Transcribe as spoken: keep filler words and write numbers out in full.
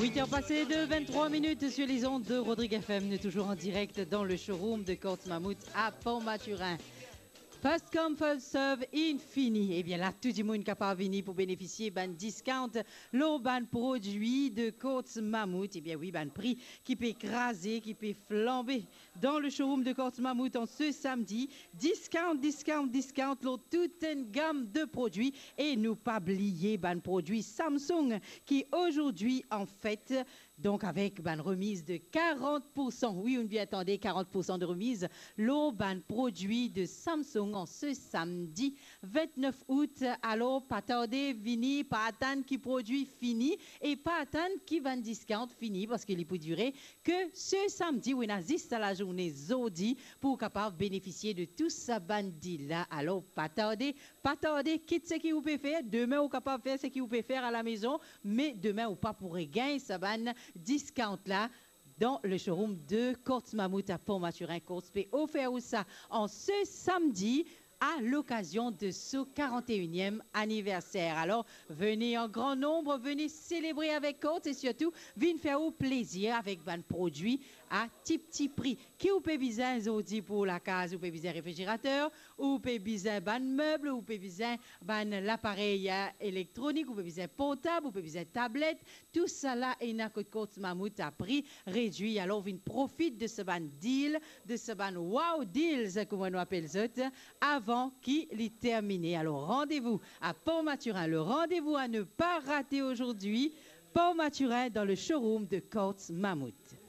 Huit heures passées de vingt-trois minutes sur les ondes de Rodrigue F M. Nous toujours en direct dans le showroom de Courts Mammouth à Port-Mathurin. First come, first serve, infini. Ebien la, tou dimoun kapav vini pou benefisie bann discount lor bann prodwi de Courts Mammouth. Ebien wi, bann pri ki pe kraze, ki pe flanbe dan le showroom de Courts Mammouth an se samdi. Discount, discount, discount lor tout enn gam de prodwi. E nou pa bliye bann prodwi Samsung ki azordi an fet, donk avek bann remiz de karant poursan. Wi, ou'nn bien tande, karant poursan de remiz lor bann prodwi de Samsung an se samdi vintnef out. Alor, pa tarde, vini, pa atann ki prodwi fini e pa atann ki bann discount fini, parski li pou dire ke se samdi, wi, ena zis sa lazourne zordi pou ou kapav benefisie de tou sa bann deal la. Alor, pa tarde, pa tarde, kit seki ou pe fer, demin ou kapav fer seki ou pe fer alamezon, me demin ou pa pou regagn sa bann discount la dan le showroom de Courts Mammouth à Port-Mathurin. Courts pe ofer ou sa an se samdi à l'occasion de so karant-e-iniem aniverser. Alor, vini an gran nonb, vini selebre avek Courts e sirtou vinn fer ou plezir avek bann prodwi a ti pti pri. Ki ou pe bizin zordi pou lakaz? Ou pe bizin refrigerater, ou pe bizin bann meb, ou pe bizin bann laparey, eh, elektronik, ou pe bizin portab, ou pe bizin tablet, tousala ena kot Courts Mammouth a pri redwi. Alor, vinn profit de sa bann deal, de sa bann wow deals, kouma nou apel zot, avan ki li termine. Alor, rendez-vous à Port-Mathurin, le rendez-vous à ne pas rater aujourd'hui, Port-Mathurin, dans le showroom de Courts Mammouth.